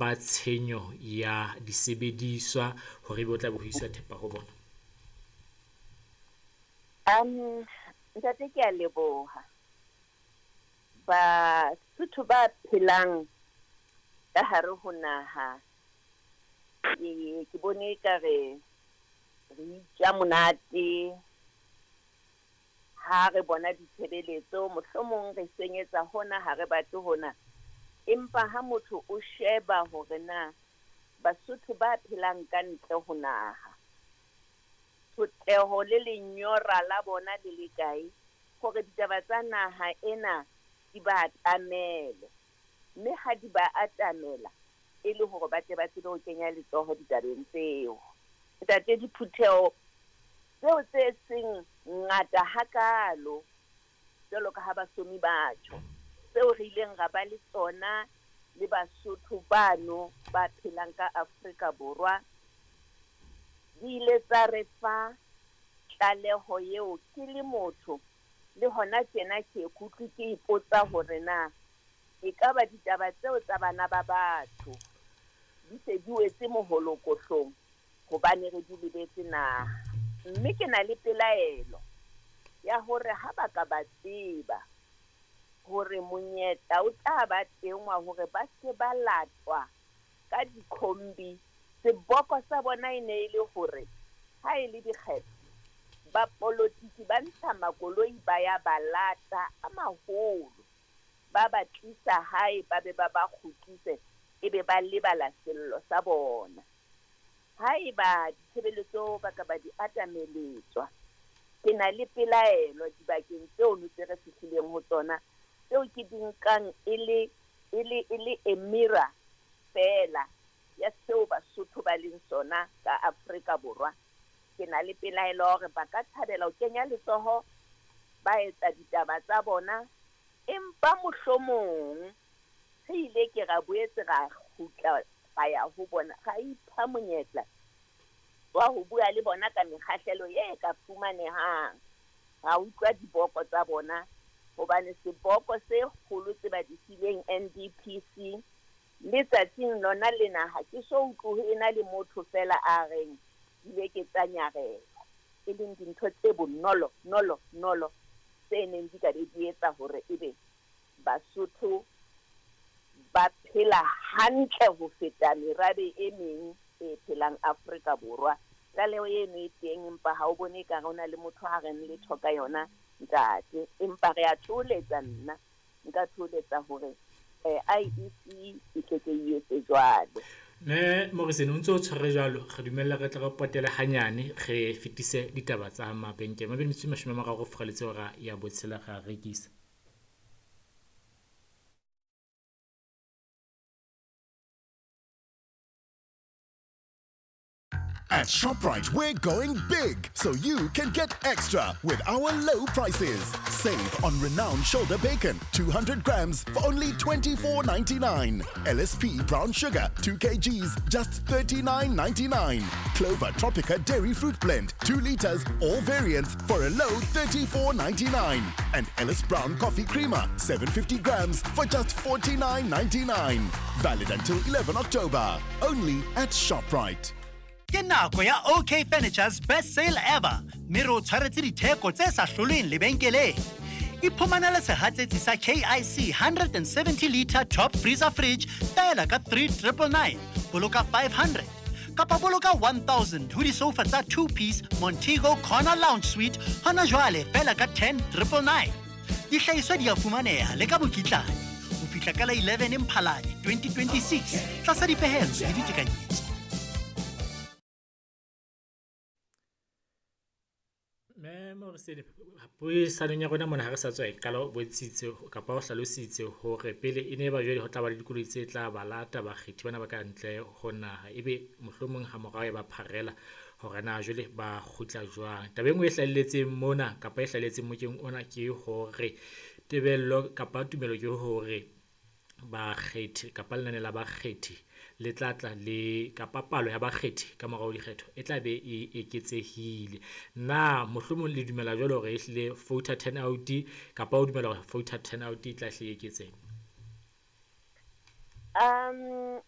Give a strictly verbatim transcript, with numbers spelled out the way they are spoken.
ba tshenyo ya disebediswa hore ebe o tla be ho iswa thepa ho bona? Um, ntate, ke a leboha. Basotho ba phelang ka hare ho naha, ke ke bone ekare re itja monate ha re bona ditshebeletso, mohlomong re senyetsa hona, ha re batle hona. Empa ha motho o sheba hore na Basotho ba phelang ka ntle ho naha, tshotleho le lenyora la bona le le kae hore ditaba tsa naha ena di ba atamele, mme ha di ba atamela e le hore ba tle ba tsebe ho kenya letsoho ditabeng tseo. Ntate, diphutheho tseo tse seng ngata hakalo jwalo ka ha basomi ba tjho, tseo re ileng ra ba le tsona le Basotho bano ba phelang ka Afrika Borwa, di ile tsa re fa tlaleho eo. Ke le motho le hona tjena ke kutlwe ke ipotsa hore na ekaba ditaba tseo tsa bana ba batho di se di wetse moholokohlong hobane re di lebetse na. Mme ke na le pelaelo ya hore ha ba ka ba tseba hore monyetla o tla ba teng wa hore ba se ba latwa ka dikhombi, seboko sa bona e ne e le hore ha e le dikgetho ba politiki ba ntsha makoloi ba ya ba lata a maholo, ba ba tlisa hae, ba be ba ba kgutlise, ebe ba lebala sello sa bona. Haeba ditshebeletso ba ka ba di atameletswa, ke na le pelaelo dibakeng tseo tse re fihlileng ho tsona, tseo ke di nkang e le, e le, e le a mirror feela ya seo Basotho ba leng sona ka Afrika Borwa. Ke na le pelaelo hore ba ka thabela ho kenya letsoho, ba etsa ditaba tsa bona, empa mohlomong re ile ke ra boetse ra kgutla ra ya ho bona, ra ipha monyetla wa ho bua le bona ka mekgahlelo e ka fumanehang, ra utlwa diboko tsa bona, hobane seboko se kgolo tse ba di fileng N D P C le tsatsing lona lena ha ke so utlwe ho ena le motho feela a reng dibeke tsa nyarela, e leng dintho tse bonolo nolo nolo tse neng di ka be di etsa hore ebe Basotho ba phela hantle ho feta merabe e meng e phelang Afrika Borwa. Tlaleho eno e teng, empa ha o bone ekare ho na le motho a reng letho ka yona, ntate. Empa re a thoholetsa, nna nka thoholetsa hore eh, I E C e tle ke e etse jwalo. Mme Morrison, o ntse o tshwere jwalo, re dumella re tle re potele hanyane, re fetise ditaba tsa mabenkele. Mabedi metsotso e mashome a mararo furaletse hora ya botshela ra rekisa. At ShopRite, we're going big, so you can get extra with our low prices. Save on renowned shoulder bacon, two hundred grams for only twenty-four ninety-nine. L S P brown sugar, two kilograms, just thirty-nine ninety-nine. Clover Tropica Dairy Fruit Blend, two liters, all variants for a low thirty-four ninety-nine. And Ellis Brown Coffee Creamer, seven hundred fifty grams for just forty-nine ninety-nine. Valid until eleven October. Only at ShopRite. Ke nako ya O K Furniture's best sale ever, mme re o tshwaretse ditheko tse sa hlolweng lebenkeleng. Iphumanele sehatsetsi sa K I C hundred and seventy liter top freezer fridge feela ka three triple nine, boloka five hundred. Kapa boloka one thousand ho disofa tsa two piece Montego Corner Lounge Suite hona jwale feela ka ten triple nine. Dihlahiswa di a fumaneha le ka mokitlane ho fihla ka la eleven Mphalane twenty twenty-six tlasa dipehelo le ditekanyetso. Mme Morrison, puisanong ya rona mona ha re sa tswa e qala, o bontshitse kapa o hlalositse hore pele e ne ba jwale ho tla ba le dikoloi tse tla ba lata bakgethi bana ba ka ntle ho naha, ebe mohlomong ha morao e ba pharela hore na jwale ba kgutla jwang. Taba e nngwe e hlahelletseng mona kapa e hlahelletseng mokeng ona ke hore tebello kapa tumelo ke hore bakgethi kapa lenane la bakgethi le tla tla le kapa palo ya bakgethi ka morao dikgetho e tla be e eketsehile. Na mohlomong le dumela jwalo hore ehlile voter turnout kapa o dumela hore voter turnout e tla hle e eketsehe? Um,